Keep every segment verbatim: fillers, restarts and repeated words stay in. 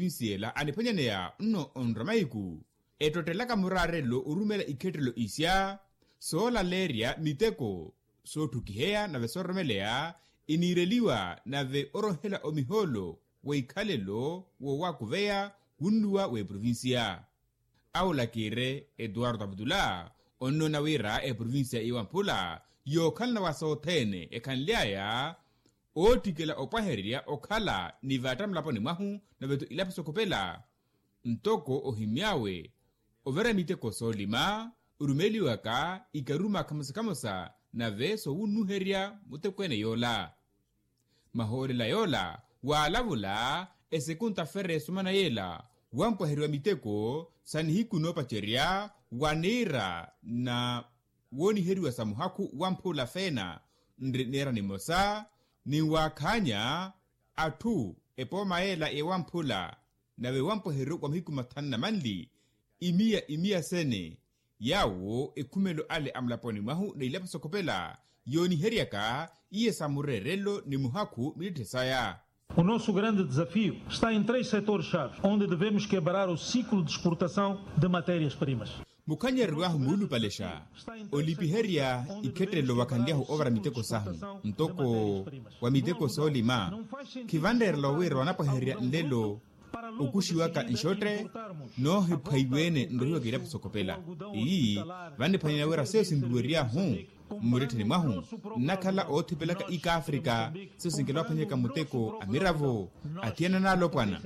eprovinsi ela aniphwanyaneya nno onrwa mahiku, ettottelaka muraarelo orumela ikhettelo isya soolaleerya miteko sootthukiheya nave soororomeleya eniireliwa nave orohela omihoolo w'ikhalelo woowakuveya wunnuwa w'eprovinsiya. Awo lakiire etuwarto aputula onnoona wira eprovinsiya iwamphula yookhalana wa sothene ekhanly'aya oottikela opwahererya okhala ni vatta mulaponi mwahu nave-tho ilapo sokhopela ntoko ohimy'awe overa miteko soolima orumeliwaka ikaruma khamosa-khamosa nave soowunnuherya mutekweene yoola. Mahoolela yoola waalavula esekunta fere esumana yeela wampwaheriwa miteko sa nihiku noopacerya wa niira na wooniheriwa sa muhakhu wamphula feena nri niira nimosa ninwaakhaanya atthu epooma yeela yewamphula nave wampweheryo wa mahiku mathanu na manli imiya imiya sene yaawo ekhumelo ale a mulaponi mwahu na ilapo sokhopela yooniheryaka iye sa mureerelo ni muhakhu mittitthe saya. O nosso grande desafio está em três setores chaves onde devemos quebrar o ciclo de exportação de matérias primas. Mukhanyeryeryo ahu muulupalexa olipiherya ikhettelo wakhanlyahu ovara miteko sahu ntoko wa miteko soolima khivanreerela wira wanapwaherya nlelo okuxiwaka nxotte noohiphwaiweene nrohiwaka ilapo sokhopela. Iyi vanniphwanyaneya wira seyo sinruweryahu mmurettheni mwahu nnakhala oothipelaka ikaafrika seyo sinkela waphwanyaka muteko a miravo athiyana n'alopwana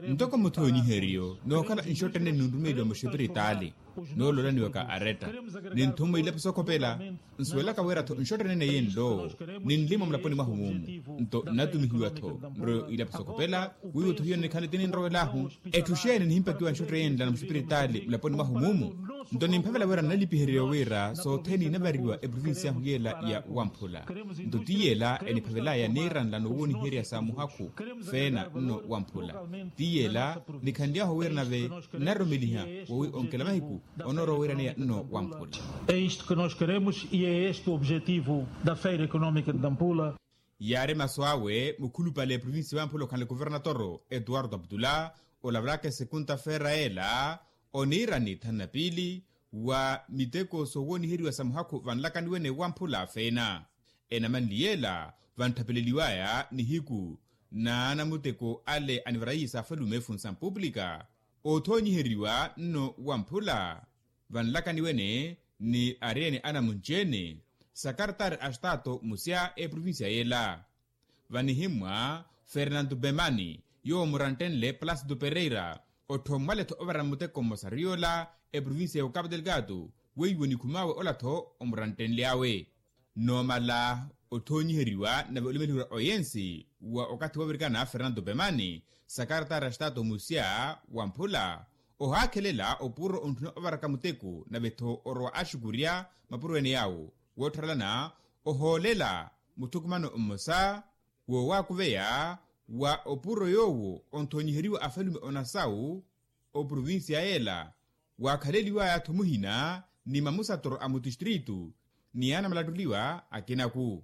ntoko muthoonyiheryo nookhala nxottene ninrumeliwa muxipiritaali nooloolaniwaka aretta ninthummwa ilapo sokhopela nsuwelaka wira-tho nxottene neye nlo ninlima mulaponi mwahu mumu nto nnatumihiwa-tho nroyo ilapo sokhopela wiiwo-tho hiyo nikhale tininrowelahu etthu xeeni nihimpakiwa nxottene yenla na muxipiritaali mulaponi mwahu mumu nto nimphavela wira nnalipihereriwa wira sothene inavariwa eprovinsi yahu yeela ya wamphula nto ti yeela eniphavelaya niiranla nowooniherya sa muhakhu feena nno wamphula ti yeela nikhanly'ahu wira nave nnaroromeliha wowi onkela mahiku onoorowa wiraneya nno wamphula. É isto que nós queremos e é este o objetivo da feira económica de nampula. Yaari masu awe mukhulupale eprovinsi wamphula okhanle kuvernatoro etuwarto aputula olavalaka esekunta feera yeela oniirani thanu na piili wa miteko soowooniheriwa sa muhakhu vanlakaniwene wamphula feena enamanli yeela vantthapeleliwaya nihiku n'anamuteko ale anivarayi sa afalume funsampupulika oothoonyiheriwa nno wamphula vanlakaniwene ni aryene anamunci-ene sakartari a estaato musya eprovinsiya yeela vanihimmwa fernanto bemani yoowo muranttenle placido pereira otthoommwale-tho ovara muteko mmosa riyoola eprovinsiya ya okapu delgado weiwo nikhum'awe ola-tho omuranttenly'awe noomala othoonyiheriwa nave olimeliherya oyensi wa okathi woovirikana fernanto bemani sakartari a estaato musya wamphula ohaakhelela opuro ontthuna ovaraka muteko nave-tho orowa axukurya mapuro ene yaawo woottharelana ohoolela muthukumano mmosa woowaakuveya wa opuro yoowo onthoonyiheriwa afalume onasawu oprovinsiya yeela waakhaleliwaya-tho muhina ni mamusatoro a mutistritu ni anamalattuliwa akinaku.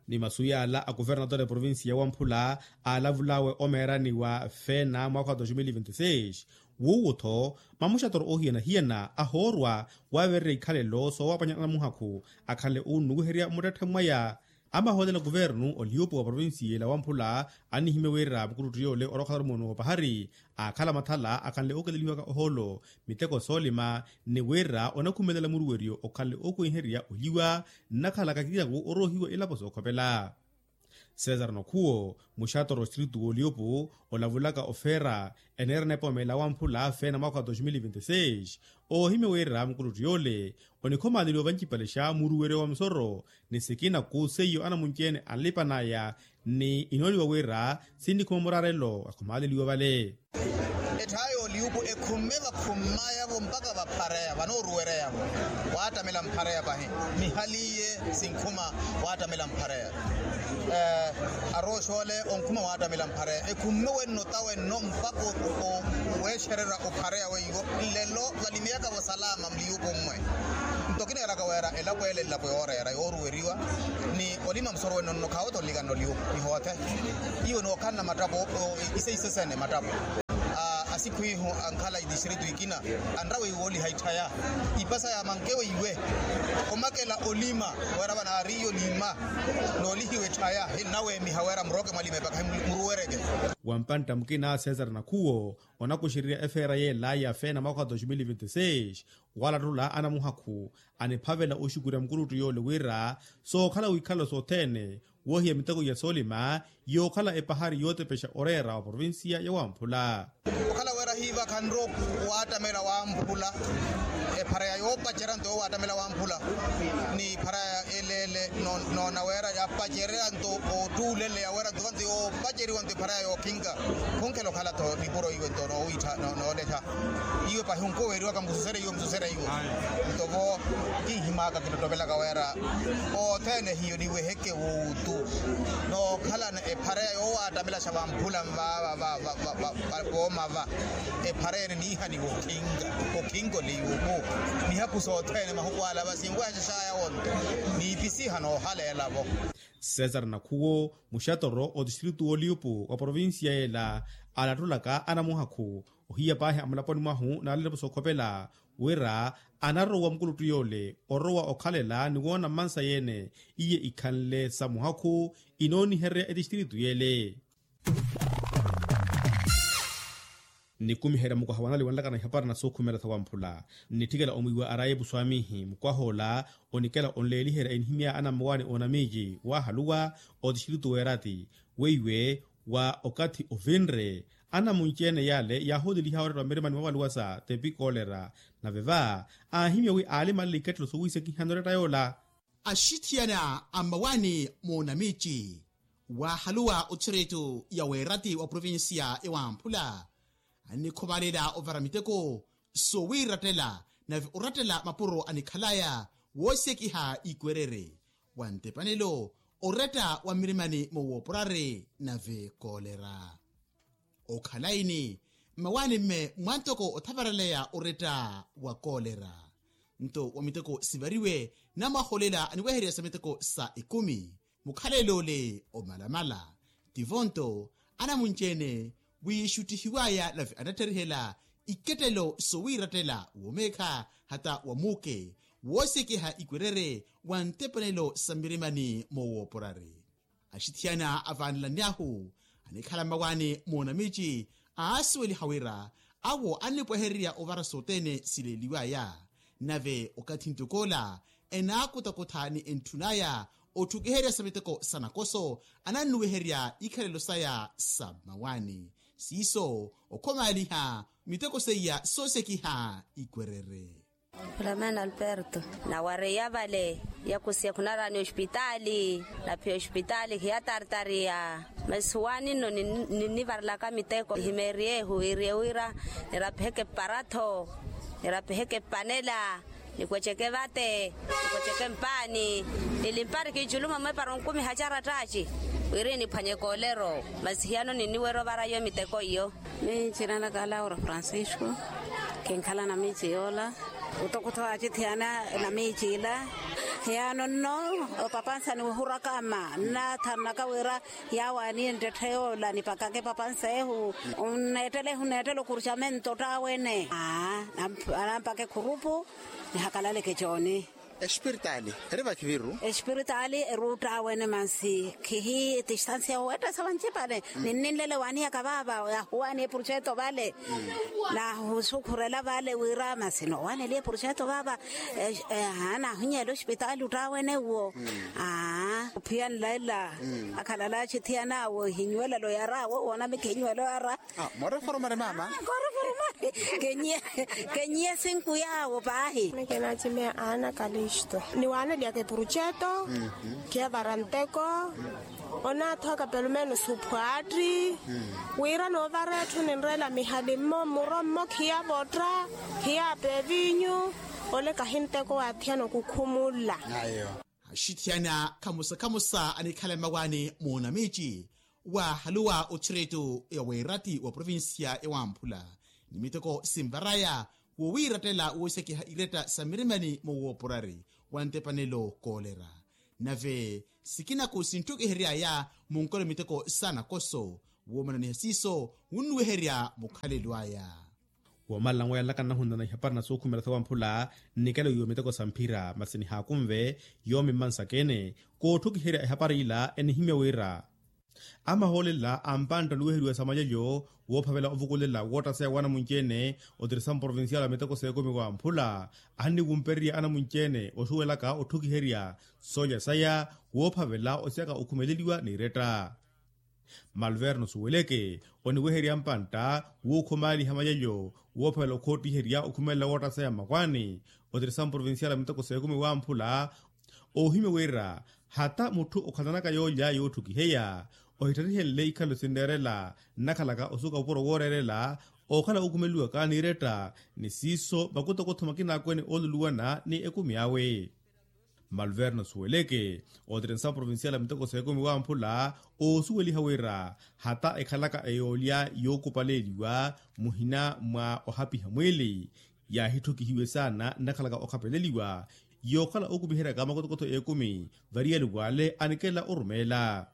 Ni masu yaala a kuvernatore provinsiya wamphula aalavul'awe omeerani wa feena mwaakha wa dos mil vinti seis wuwo-tho mamuxatoro oohiyana-hiyana ahoorwa waavererya ikhalelo soowapwanya anamuhakhu akhanle oonnuwiherya muttetthe mwaya amahoolela kuvernu oliupu wa provinsiya ela wamphula annihimya wira mukuluttu yoole orookhala orumoni woopahari aakhala mathala akhanle ookelelihiwaka ohoolo miteko soolima ni wira onakhumelela muruweryo okhanle ookuwenherya oliwa nnakhalaka kinaku oroohiwa ilapo sookhopela. Cesar nokhuwo muxatoro ostritu w'oliopu olavulaka ofeera eneera nepoomela wamphula feena mwaakha wa dos mil vinti seis oohimya wira mukuluttu yoole onikhomaleliwa vancipale xa muruweryo wa musoro ni sikinaku seiyo anamunci-ene anlipan'aya ni inooniwa wira sinnikhuma muraarelo akhumaleliwa vale. Etthaaya oliupu ekhumme vakhummaya-vo mpaka vaphareya vanooruwereya-vo waattamela mphareya pahi mihali iye sinkhuma waattamela mphareya arooxoole onkhuma waattamela mphareya ekhumme wenno ta wenno mpaka weexererya ophareya weiwo nlelo valimiyaka-vo salama mliupu mmwe nto kineeraka wira elapo ele elapo yooreera yooruweriwa ni olima musoro wenno nno khaawo-tho nlikana oliupu nihoothe iwe nookhalana mattapo iseisesene mattapo Sikhu ihu ankhala itistritu ikina anrawe iwooliha itthaya ipasa ya mankewe iwe omakela olima wera vanaariyo lima noolihiwa etthaya hinnaweemiha wera murooke mwalima epaka himuruwereke. Wampantta mukina cesar nakhuwo onakuxererya efeera yeelaya feena mwaka wa dos mil vinti seis walattula anamuhakhu aniphavela oxukurya mukuluttu yoole wira sookhala wikhalelo sothene woohiya miteko ya soolima yookhala epahari yootepexa oreera wa provincia ya wamphula. Okhala wira hiivakhanro waattamela wamphula epharaya yoopacerya nto yoowaattamela wamphula ni epharaya eleele noona wira yapacerya nto oottuuleleya wira nto kanto yoopaceriwa nto epharaya yookhinka khunkhela okhala tho nipuro iwe nto noowiittha noolettha iwe pahi onkoweeriwaka mususereiwe mususereiwe. Nto-vo kinhimaka kinottomelaka wira othene hiyo niweheke wuuttu nookhalana ephareya yoowaattamelaxa vamphula nvaava vooma va ephareya ene niihaniwa okhinka okhinka oliyuuku mihaku sothene mahuku ala va sinwehaxaxaya wonto niipisiha noohaleela-vo. Cesar nakhuwo muxatoro otistritu wooliyupu wa provincia yeela aalattulaka anamuhakhu ohiya paahi amulaponi mwahu naalelepo sookhopela wira anarowa mukuluttu yoole orowa okhalela ni woona mmansa yeene iye ikhanle sa muhakhu inoonihererya etistritu yeele. Nikumiherya mukwaha wanali wanlakana ihapari na sookhumela sa wamphula nnitthikela omwiiwa araye epuswaamihi mukwaha ola onikela onleeliherya enihimyaya anammawaani oonamiici waahaluwa otistritu weerati weiwe wa okathi ovinre anamunci-ene yaale yaahooteliha oreera wa mirimani mwa valuwa sa tepi koolera nave va aahimya wi aalimalela iketthelo sowiisekiha noreetta yoola. Axithiyana a mmawaani moonamiici waahaluwa otistritu ya weerati wa provincia ya wamphula annikhuvalela ovara miteko sowiirattela nave orattela mapuro anikhalaya woosekiha ikwerere wa ntepanelo oretta wa mmirimani moowooporari nave koolera. Okhala ini mmawaani-mme mwa ntoko othavaraleya oretta wa koolera nto wa miteko sivariwe namwaha olela aniwehererya sa miteko sa ekumi mukhalelo ole omalamala tivo nto anamunci-ene wiixuttihiwaya nave anatterihela ikettelo sowiirattela womeekha hata wa muuke woosekiha ikwerere wa ntepanelo sa mmirimani moowooporari. Axithiyana avaanelani ahu anikhala mmawaani moonamiici aasuweliha wira awo annipwehererya ovara sothene sileeliwaya nave okathi ntokoola enaakutakutha ni entthun'aya otthukiherya sa miteko sa nakoso anannuweherya ikhalelo saya sa mmawaani siiso okhomaaliha miteko seiya soosekiha ikwerere. Filamena alberto nawareya vale yakusiya khunaraani ospitaali naphiya ospitaali khiyatartariya masi waani nno ninnivarelaka miteko himeeriyehu iriye wira nirapiheke paratho nirapiheke panela nikweceke vate nikweceke mpaani nilimpari kiiculumo mwepara onkumiha carattaci wiri niphwanye koolero masi hiyano ninniwerya ovara iyo miteko iyo. Miicina naka laura francisco kinkhala na miici yoola. Kutokutho acithiyana na miici ila hiyano nno opapansa niwihuraka ama nnaathanaka wira yawaaniye nttette yoola nipakake papansa ehu nneettele ehu nneettele okurcamento ttawene aa anampake khurupu nihakalaleke cooni. Espiritaali eri vakhiviru espiritaali eri uttawene mansi khihi tistansia owettesa vancipale ninninlele waaniyaka vaava yahuwaani eprojeto vale nahusukhurela vale wira masi noowaneliye projeto vaava. Aa nahunyela ospitaali uttawene uwo aa ophiya nlaila akhalala achithiyana awo ehinywelelo yara awo woona mikhinywelo yara. Moreforomari mama. Koreforomari kenyiye sinku yawo paahi. Nekenachimiya ana kalisto niwaneliyaka epuruceto khiyavara nteko onathoka pelumenos uphwaatti wira noovara etthu ninreela mihali mmo mmuro mmo khiyavotta khiyapa evinyu ole kahi nteko waathiyana okukhumulla. Axithiyana khamosa khamosa anikhala mmawaani moonamiici waahaluwa otthireto ya weeratti wa provincia ya wamphula ni miteko sinvaraya wowiirattela woosekiha iretta sa mirimani mowooporari wa ntepanelo koolera nave sikinaku sintthukiheryaya munkolo miteko sa nakoso woomananiha siiso wunnuweherya mukhalelo aya. Woomalala nweya nlaka nnahunana ihapari na suukhumela sawamphula nnikelo iwo miteko sa mphira masi nihaakunve yoomi mmansaka-ene. Kootthukiherya ehapari ila enihimya wira amahoolela a mpantta oniweheriwa sa malyalyo woophavela ovukulela woottaseya w'anamunci-ene. Otirisamo provincial a miteko s'ekumi wamphula anniwumpererya anamunci-ene osuwelaka otthukiherya soolya saya woophavela osiyaka okhumeleliwa n'iretta. Malverno suweleke oniweherya mpantta wuukhumaaliha malyalyo woophavela okhootiherya okhumelela woottaseya mmakwaani. Otirisamo provincial a miteko s'ekumi wamphula oohimya wira hata mutthu okhalanaka yoolya yootthukiheya ohittharihenle ikhalo sinneerela nnakhalaka osuka opuro wooreerela ookhala ookhumeliwaka n'iretta ni siiso makutokotho makina akwene ooluluwana ni ekumi awe. Malverno suweleke otirinsa provincial a miteko s'ekumi wamphula oosuweliha wira hata ekhalaka eyoolya yookupaleeliwa muhina mwa ohapiha mwiili yaahittukihiwe saana nnakhalaka okhapeleliwa yookhala ookupiheryaka makotokotho ekumi variyali w'ale anikela orumeela.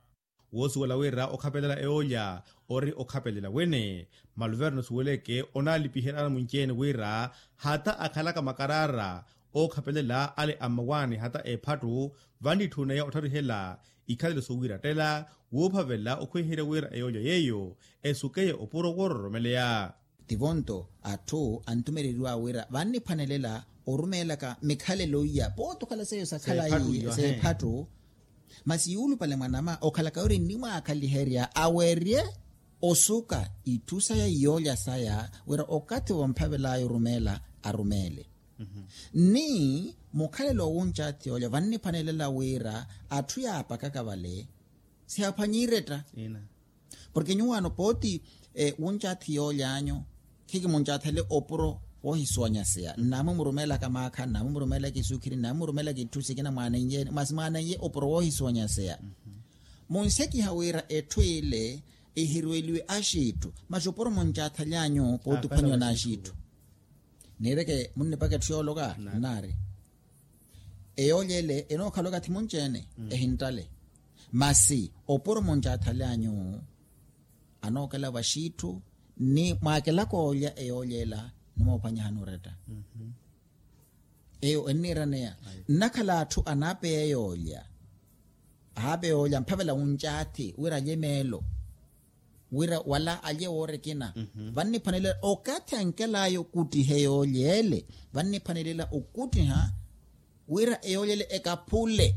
Woosuwela wira okhapelela eyoolya ori okhapelela wene. Maluverno suweleke onaalipiherya anamunci-ene wira hata akhalaka makaraara ookhapelela ale a mmawaani hata ephattu vannitthuneya ottarihela ikhalelo sowiirattela woophavela okhweherya wira eyoolya yeeyo esukeye opuro woororomeleya. Tivonto atthu antumereriwa wira vanniphwanelela orumeelaka mikhalelo iya pooti okhala seiyo sakhala iye s'ephattu. Masi yuulupale mwanama okhalaka wira ennimwaakhaliherya awerye osuka itthu saya iyoolya saya wira okathi womphavel'aya orumeela arumeele. Ni mukhalelo owuncathi yoolya vanniphwanelela wira atthu yaapakaka vale sihaaphwanye iretta. Porke nyuwaano pooti wuncathi yoolyanyu khikimuncathele opuro woohisuwanyaseya nnaamwi murumeelaka maakha nnaamwi murumeelaka isukhiri nnaamwi murumeelaka itthu sikina mwaanenyeeni masi mwaanenye opuro woohisuwanyaseya. Munsekiha wira etthu ile ihirweliwe axiitthu masi opuro muncathalyanyu pooti ophwanyiwa n'axiitthu. Niireke munnipaka etthu yooloka nnaari eyoolya ele enookhala okathi munci-ene ehinttale. Masi opuro muncathalyanyu anookela vaxiitthu ni mwaakelaka oolya eyoolya ela nimoophwanyihani oretta. Eyo enniiraneya nnakhala atthu anaapeya eyoolya ahaapeya oolya mphavela wuncaathi wira alye meelo wira wala alye woora ekina. Vanniphwanelela okathi ankel'aya okuttiha eyoolya ele vanniphwanelela okuttiha wira eyoolya ele ekaphule.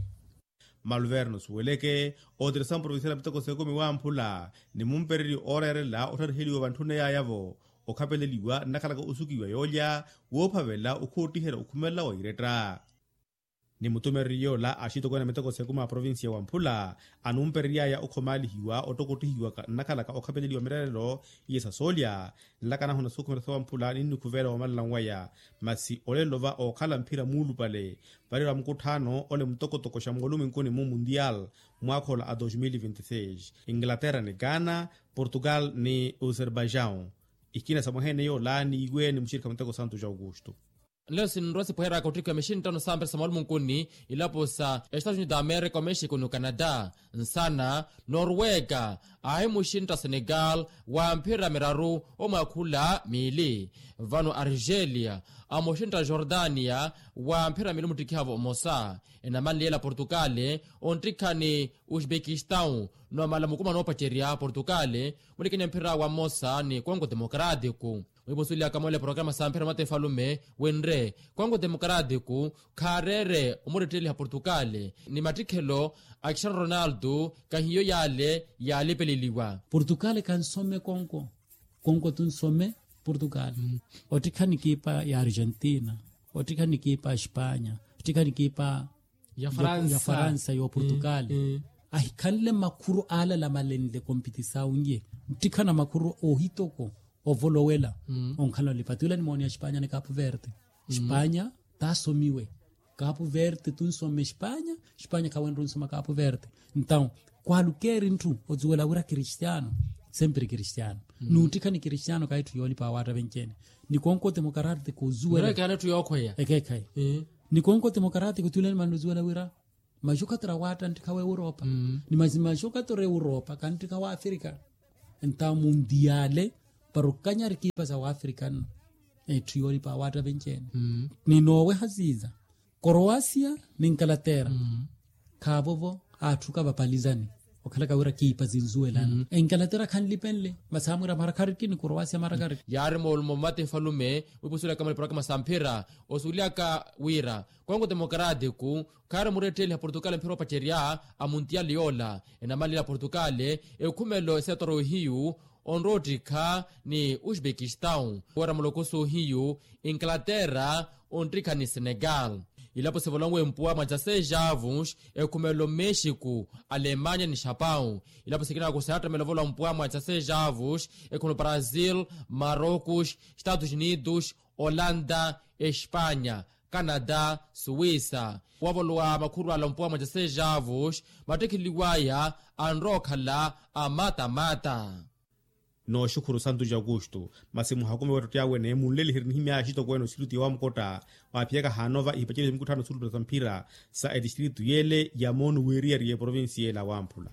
Maluverno suweleke otirisa mprovincial a miteko s'ekumi wamphula ni mumpereryo ooreerela ottariheliwa vantthuney'aya-vo okhapeleliwa nnakhalaka osukiwa yoolya woophavela okhootiherya okhumelela wa iretta. Ni mutumereryo yoola axitokweene a miteko s'ekumi a provincia wamphula anumperery'aya okhomaalihiwa ottokottihiwaka nnakhalaka okhapeleliwa mireerelo iye sa soolya nlaka nahuna sukhumela sawamphula ninnikhuveela woomalala nwaya. Masi olelo va ookhala mphira muulupale varira mukutthaano ole mutokotoko xa mooluminkuni-mu mundial mwaakha ola a dos mil vinti seis inglaterra ni ghana portugal ni uzerbaijau. Ikina sa mwaha-ene yoola niiwe ni muxirikha muteko santo ja augusto. Nlelo sinrowa sipweheryaka ottikhiwa mixinttano sampira sa mooluminkuni ilapo sa estados unidos da america omexico ni ocanada nsana norwega ahimuxintta senegal wa mphira miraru omwaakhula miili vano argelia amuxintta jordania wa mphira miili omuttikhiha-vo omosa enamanliyela portugal onttikhani uzbekistão nomala mukuma noopacerya portugal mulikenya mphira wa mmosa ni kongo democrático. Wiipusulyaka moole porokaramu sa mphira mata efalume wenre kongo democrático khaareere omuretteliha portugal ni mattikhelo a cristiano ronaldo kahiyo yaale yaalipeleliwa. Portugal kansome kongo kongo tunsome portugal ottikhana ekipa ya argentina ottikhana ekipa ya espanya ottikhana ekipa ya faransa ya portugal ahikhanle makhuru aalala malenle kompitisawu nye nttikhana makhuru oohitoko ovolowela onkhala olipatula nimooni ya espanya ni capu verde espanya taasomiwe capu verde tunsome espanya espanya khawenre onsoma capu verde ntawu kwaalukeeri ntthu ozuwela wira cristiano sempiri cristiano nunttikhani cristiano khayi etthu yoolipa awaatta venci-ene ni konko temokarattiko ozuwela ekeekhayi ni konko temokarattiko tuulani manna ozuwela wira maxokatoro awaatta nttikha wa europa ni maxokatoro europa kanttikha wa afrika nta mundiale para okanyari kiipa sa wa afrika nno Etthu yooripa awaatta venci-ene. Ni nooweha siiza, koroasia ni nkalatera. Khaavovo atthu kavapalizani, okhalaka wira kiipa sinzuwelana. Enkalatera khanlipenle, masi amwira marakariki ni koroasia marakariki. Yaari moolumo mmati nfalume, wiipusulaka maliporokama sa mphira osuweliyaka wira kongo demokaratiku khaari muretteliha portugal mphira opacerya a muntiyali yoola. Enamalila portugal ekhumelo esetoro ihiyu onroottikha ni uzbekistan wira mulokoso ohiyu. Inglaterra onttikha ni senegal. Ilapo sivolonwe mpuwa mwa dyaseis avos ekhumelo mexico, alemanya ni xapau. Ilapo sikinako seattamela ovolwa mpuwa mwa dyaseis avos ekhumelo brazil, marocos, estados unidos, olanda, espanya, canada, suwisa. Wavolowa makhuru ala mpuwa mwa dyaseis avos mattekheliwaya anrowa okhala a matamata. Nooxukhuru santu ja aukustu masi muhakume wettotti awe neemunleliherye nihimyaya axitokweene osiriti ya wamukotta waaphiyaka haanova ihipacerya sa mikutthano suulupela sa mphira sa etistritu yeele ya moonu wiiriyari ya eprovincia yeele awamphula.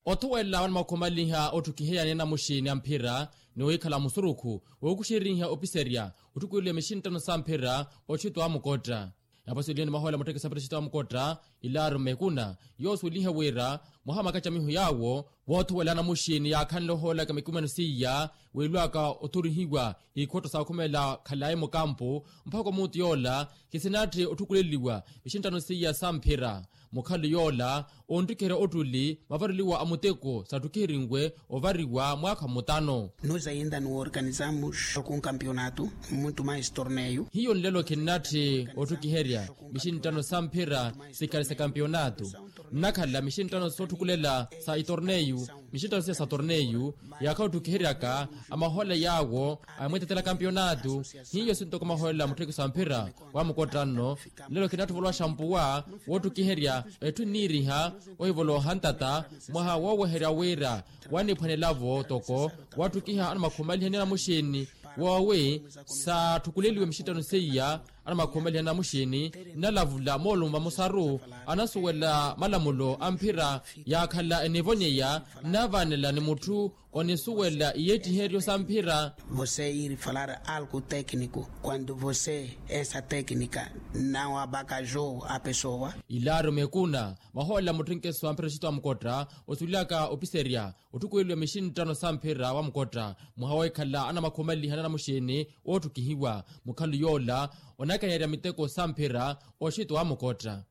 Othuwela wanamakhumalinha otthukiheya ni anamuxini a mphira ni wiikhala musurukhu wookuxeriha opiserya otthukweliwa mixinttano sa mphira oxitwa amukotta. Yapaseliwe ni mahoyela muttekesa mphira oxitwa amukotta, ilaru mekuna yoosuwelihe wira mwaha makacamiho yaawo woothuwela anamuxini yaakhanle ohoolaka mikumeno seiya wiilwaka othurihiwa ikhotta saakhumela khalayi mukampu mpakha omuutu yoola kisinatthi otthukuleliwa mixinttano seiya sa mphira. Mukhalo yoola onttikiherya ottuli mavareliwa a muteko saatthukiherinwe ovariwa mwaakha mutano. Nos ainda no organizamos algum campeonato, muito mais torneio. Hiyo nlelo khinnatthi otthukiherya mixinttano sa mphira sikhale sa kampionato. Nnakhala mixinttano sootthukulela sa itorneyu mixinttano siya sa torneyu yaakha otthukiheryaka amahola yaawo amweetetela kampionato. Hiyo sintoko maholela mutthekiso a mphira wa mukotta nno. Nlelo khinatthi ovolowa xampuwa wotthukiherya etthu nniiriha ohivolowa ohantata mwaha wooweherya wira waniphwanelavo toko watthukiha anamakhumaliha ni anamuxini woowi saatthukuleliwe mixinttano seiya. Anamakhumaliha ni anamuxini nnalavula moolumo vamosaru anasuwela malamulo a mphira yaakhala enivonyeya nnavaanela ni mutthu onisuwela iyeettiheryo sa mphira. Você ir falar algo técnico quando você essa técnica não abacajou a pessoa. Ilaaro mekuna maholela mutthenkeso a mphira oxitwa mukotta osuwelaka opiserya otthukuweliwa mixinttano sa mphira wa mukotta mwaha weekhala anamakhumaliha ni anamuxini ootthukihiwa. Mukhalo yoola onakanyerya miteko sa mphira oxitwa wa mukotta.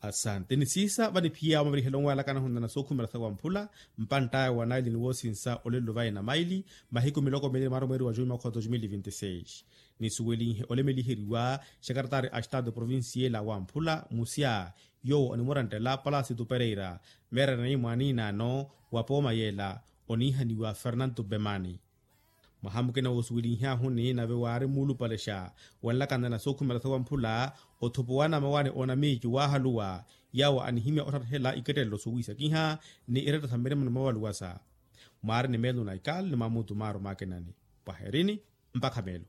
Asante ni siisa vaniphiya omavirihelonwe alaka anahunana sookhumela sa wamphula mpantt'aya wa naili ni woosinsa olelo vayi na maili mahiku miloko miili ni maara mweeri wa juni mwakha wa dos mil vinti seis. Nisuwelinhe olemeliheriwa xekaratari a estado provincial a wamphula musya yoowo onimurantela palasitu pereira meerana ni mwaaniinaano wa pooma yeela oniihaniwa fernanto bemani. Mwaha mukina woosuwelinhyaahuni nave waari muulupalexa wanlakanana sookhumela sa wamphula othupuwa na mawaani oonamiicu waahaluwa yaawo anihimya otthatthela ikettelelo sowiisakiha ni iretta sa mmirima ni moovaluwasa. Mwaari ni meelo na ikali ni mwamutu maaru maakinani. Pwaherini mpakha meelo.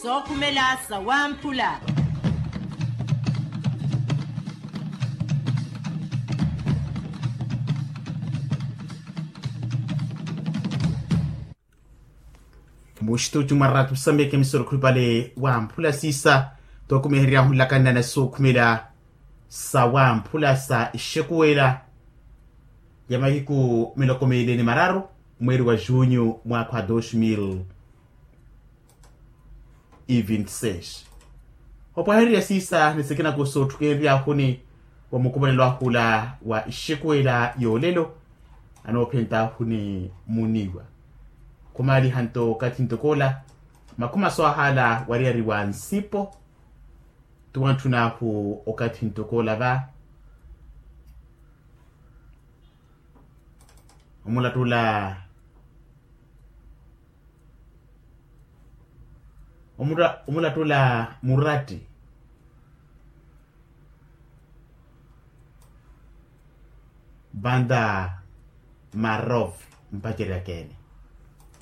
Sookhumela sa wamphula. Muxitutu mwa raatu sameke misoro khulupale wamphula siisa tookumeheryaahu nlakanana sookhumela sa wamphula sa ixekuwela ya mahiku miloko miili ni mararu mweeri wa junyu mwaakha wa dos mil e vinti seis. Opwahererya siisa ni sikina ku sootthukenryahuni wa mukumanelo ahula wa ixekuwela yoolelo anoophentahuni muniiwa khumaaliha nto okathi ntokoola makhuma soohala wariyari wa nsipo. Tuwantthunahu okathi ntokoola va omulattula omulattula muratti vanta marov mpacerya keene.